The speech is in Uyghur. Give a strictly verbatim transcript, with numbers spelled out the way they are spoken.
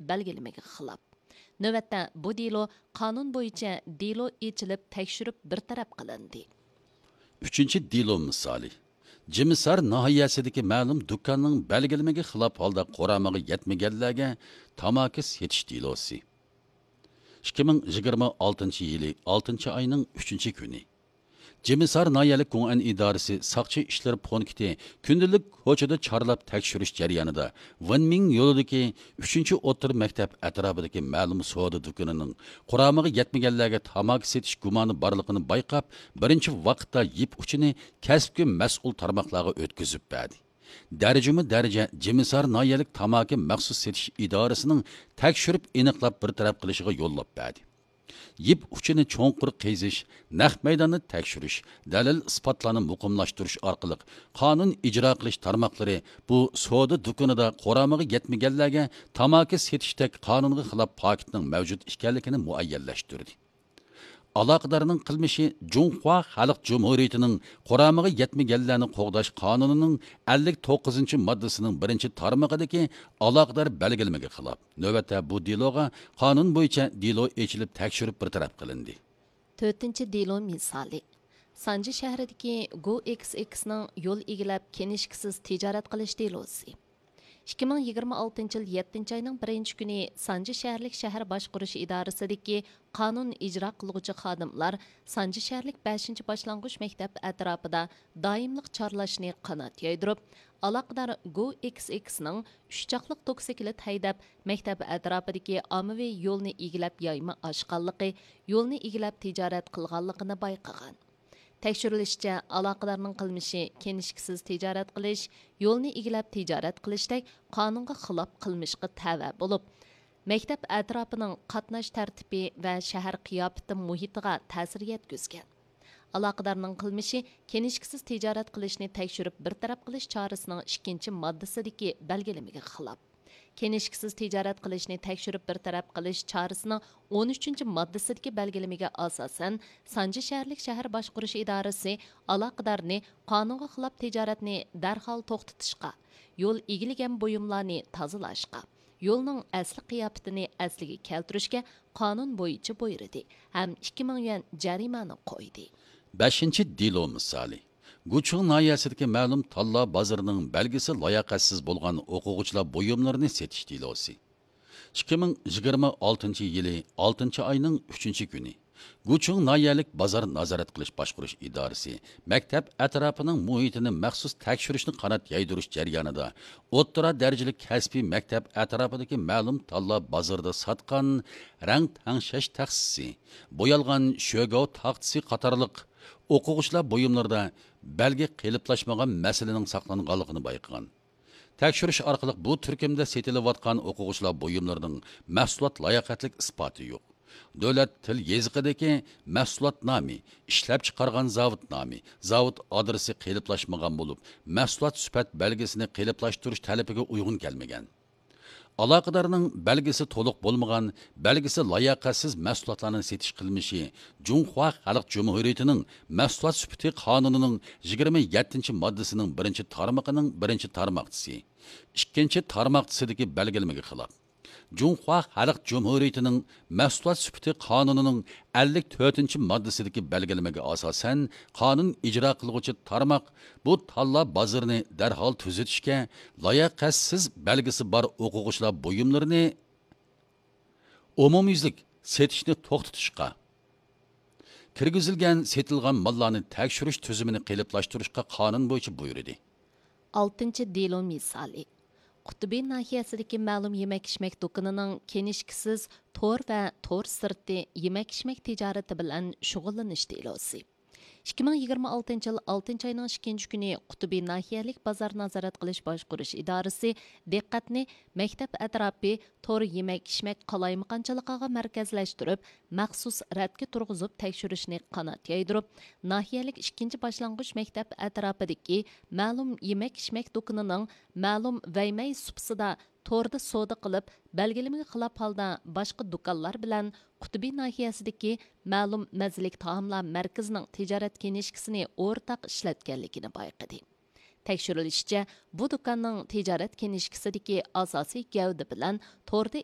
بەلگىلىمىگە خىلاپ. نۆۋەتتە بۇ دېلو قانۇن بويىچە دېلو ئېچىلىپ تەكشۈرۈپ بىر تەرەپ قىلىندى. ئۈچىنچى دېلو مىسالى. جىمىسار ناھىيەسىدىكى مەلۇم دۇكاننىڭ بەلگىلىمىگە خىلاپ ھالدا قۇرامىغا يەتمىگەنلەرگە تاماكا سېتىش دېلوسى. ئىككى مىڭ يىگىرمە ئالتىنچى يىلى ئالتىنچى ئاينىڭ ئۈچىنچى كۈنى. جىمىسار ناھىيەلىك گۇڭئەن ئىدارىسى ساقچى ئىشلىرى پونكىتى كۈندىلىك كوچىدا چارلاپ تەكشۈرۈش جەريانىدا، ۋېنمىڭ يولىدىكى ئۈچىنچى ئوتتۇرا مەكتەپ ئەتراپىدىكى مەلۇم سودا دۇكىنىنىڭ قۇرامىغا يەتمىگەنلەرگە تاماكا سېتىش گۇمانى بارلىقىنى بايقاپ، بىرىنچى ۋاقىتتا يىپ ئۇچىنى كەسىپكە مەسئۇل تارماقلارغا ئۆتكۈزۈپ بەردى. دەرىجىمۇ دەرىجە جىمىسار ناھىيەلىك تاماكا مەخسۇس سېتىش ئىدارىسىنىڭ تەكشۈرۈپ ئېنىقلاپ بىر تەرەپ قىلىشىغا يوللاپ بەردى. يىپ ئۇچىنى چوڭقۇر قېزىش، نەق مەيداننى تەكشۈرۈش، دەلىل ئىسپاتلارنى مۇقىملاشتۇرۇش ئارقىلىق قانۇن ئىجرا قىلىش تارماقلىرى بۇ سودا دۇكىنىدا قۇرامىغا يەتمىگەنلەرگە تاماكا سېتىشتەك قانۇنغا خىلاپ پاكىتنىڭ مەۋجۇت ئىكەنلىكىنى مۇئەييەنلەشتۈردى. ئالاقىدارنىڭ قىلمىشى جۇڭخۇا خەلق جۇمھۇرىيىتىنىڭ قۇرامىغا يەتمىگەنلەرنى قوغداش قانۇنىنىڭ ئەللىك توققۇزىنچى ماددىسىنىڭ بىرىنچى تارمىقىدىكى ئالاقىدار بەلگىلىمىگە خىلاپ، نۆۋەتتە بۇ دېلوغا قانۇن بويىچە دېلو ئېچىلىپ تەكشۈرۈپ بىر تەرەپ قىلىندى. تۆتىنچى دېلو مىسالى. سانجى شەھىرىدىكى گو ئېكس ئېكسنىڭ يول ئىگىلەپ كىنىشكىسىز تىجارەت قىلىش دېلوسى. ئىككى مىڭ يىگىرمە ئالتىنچى يىل يەتتىنچى ئاينىڭ بىرىنچى كۈنى سانجى شەھەرلىك شەھەر باشقۇرۇش ئىدارىسىدىكى قانۇن ئىجرا قىلغۇچى خادىملار سانجى شەھەرلىك بەشىنچى باشلانغۇچ مەكتەپ ئەتراپىدا دائىملىق چارلاشنى قانات يايدۇرۇپ، ئالاقىدار گو ئېكس ئېكسنىڭ ئۈچ چاقلىق توكسىكلىت ھەيدەپ، مەكتەپ ئەتراپىدىكى ئاممىۋى يولنى ئىگىلەپ يايما ئاچقانلىقى، يولنى ئىگىلەپ تىجارەت قىلغانلىقىنى بايقىغان. تەكشۈرۈلۈشىچە، ئالاقىدارنىڭ قىلمىشى كىنىشكىسىز تىجارەت قىلىش، يولنى ئىگىلەپ تىجارەت قىلىشتەك قانۇنغا خىلاپ قىلمىشقا تەۋە بولۇپ، مەكتەپ ئەتراپىنىڭ قاتناش تەرتىپى ۋە شەھەر قىياپىتى مۇھىتىغا تەسىر يەتكۈزگەن. ئالاقىدارنىڭ قىلمىشى كىنىشكىسىز تىجارەت قىلىشنى تەكشۈرۈپ بىر تەرەپ قىلىش چارىسىنىڭ ئىككىنچى ماددىسىدىكى بەلگىلىمىگە خىلاپ. كىنىشكىسىز تىجارەت قىلىشنى تەكشۈرۈپ بىر تەرەپ قىلىش چارىسىنىڭ ئون ئۈچىنچى ماددىسىدىكى بەلگىلىمىگە ئاساسەن، سانجى شەھەرلىك شەھەر باشقۇرۇش ئىدارىسى ئالاقىدارنى قانۇنغا خىلاپ تىجارەتنى دەرھال توختىتىشقا، يول ئىگىلىگەن بۇيۇملارنى تازىلاشقا، يولنىڭ ئەسلى قىياپىتىنى ئەسلىگە كەلتۈرۈشكە قانۇن بويىچە بۇيرۇدى ھەم ئىككى مىڭ يۈەن جەرىمانە قويدى. بەشىنچى دېلو مىسالى. گۇچۇڭ ناھىيەسىدىكى مەلۇم تاللا بازىرىنىڭ بەلگىسى لاياقەتسىز بولغان ئوقۇغۇچىلار بۇيۇملىرىنى سېتىش دېلوسى. ئىككى مىڭ يىگىرمە ئالتىنچى يىلى ئالتىنچى ئاينىڭ ئۈچىنچى كۈنى گۇچۇڭ ناھىيەلىك بازار نازارەت قىلىش باشقۇرۇش ئىدارىسى مەكتەپ ئەتراپىنىڭ مۇھىتىنى مەخسۇس تەكشۈرۈشنى قانات يايدۇرۇش جەريانىدا ئوتتۇرا دەرىجىلىك كەسپىي مەكتەپ ئەتراپىدىكى مەلۇم تاللا بازىرىدا ساتقان رەڭ تەڭشەش تەخسىسى، بويالغان شۆگاۋ تاختىسى قاتارلىق ئوقۇغۇچىلار بۇيۇملىرىدا بەلگە قېلىپلاشمىغان مەسىلىنىڭ ساقلانغانلىقىنى بايقىغان. تەكشۈرۈش ئارقىلىق بۇ تۈركۈمدە سېتىلىۋاتقان ئوقۇغۇچىلار بۇيۇملىرىنىڭ مەھسۇلات لاياقەتلىك ئىسپاتى يوق. دۆلەت تىل يېزىقىدىكى مەھسۇلات نامى، ئىشلەپچىقارغان زاۋۇت نامى، زاۋۇت ئادرېسى قېلىپلاشمىغان بولۇپ، مەھسۇلات سۈپەت بەلگىسىنى قېلىپلاشتۇرۇش تەلىپىگە ئۇيغۇن كەلمىگەن. ئالاقىدارنىڭ بەلگىسى تولۇق بولمىغان، بەلگىسى لاياقەتسىز مەھسۇلاتلارنى سېتىش قىلمىشى جۇڭخۇا خەلق جۇمھۇرىيىتىنىڭ مەھسۇلات سۈپىتى قانۇنىنىڭ يىگىرمە يەتتىنچى ماددىسىنىڭ بىرىنچى تارمىقىنىڭ بىرىنچى تارماقچىسى، ئىككىنچى تارماقچىسىدىكى بەلگىلىمىگە خىلاپ. جۇڭخۇا خەلق جۇمھۇرىيىتىنىڭ مەھسۇلات سۈپىتى قانۇنىنىڭ ئەللىك تۆتىنچى ماددىسىدىكى بەلگىلىمىگە ئاساسەن، قانۇن ئىجرا قىلغۇچى تارماق بۇ تاللا بازىرىنى دەرھال تۈزىتىشكە، لاياقەتسىز بەلگىسى بار ئوقۇغۇچىلار بۇيۇملىرىنى ئومۇميۈزلۈك سېتىشنى توختىتىشقا، كىرگۈزۈلگەن سېتىلغان ماللارنى تەكشۈرۈش تۈزۈمىنى قېلىپلاشتۇرۇشقا قانۇن بويىچە بۇيرۇدى. ئالتىنچى دېلو مىسالى. قۇتۇبى ناھىيەسىدىكى مەلۇم يېمەك-ئىچمەك دۇكىنىنىڭ كىنىشكىسىز تور ۋە تور سىرتى يېمەك-ئىچمەك تىجارىتى بىلەن شۇغۇللىنىش دېلوسى. ئىككى مىڭ يىگىرمە ئالتىنچى يىل ئالتىنچى ئاينىڭ ئىككىنچى كۈنى قۇتۇبى ناھىيەلىك بازار نازارەت قىلىش باشقۇرۇش ئىدارىسى دىققەتنى مەكتەپ ئەتراپى تور يېمەك-ئىچمەك قالايمىقانچىلىقىغا مەركەزلەشتۈرۈپ، مەخسۇس رەتكە تۇرغۇزۇپ تەكشۈرۈشنى قانات يايدۇرۇپ، ناھىيەلىك ئىككىنچى باشلانغۇچ مەكتەپ ئەتراپىدىكى مەلۇم يېمەك-ئىچمەك دۇكىنىنىڭ مەلۇم ۋەيمەي سۇپىسىدا توردا سودا قىلىپ، بەلگىلىمىگە خىلاپ ھالدا باشقا دۇكانلار بىلەن قۇتۇبى ناھىيەسىدىكى مەلۇم مەززىلىك تائاملار مەركىزىنىڭ تىجارەت كىنىشكىسىنى ئورتاق ئىشلەتكەنلىكىنى بايقىدى. تەكشۈرۈلۈشىچە، بۇ دۇكاننىڭ تىجارەت كىنىشكىسىدىكى ئاساسىي گەۋدە بىلەن توردا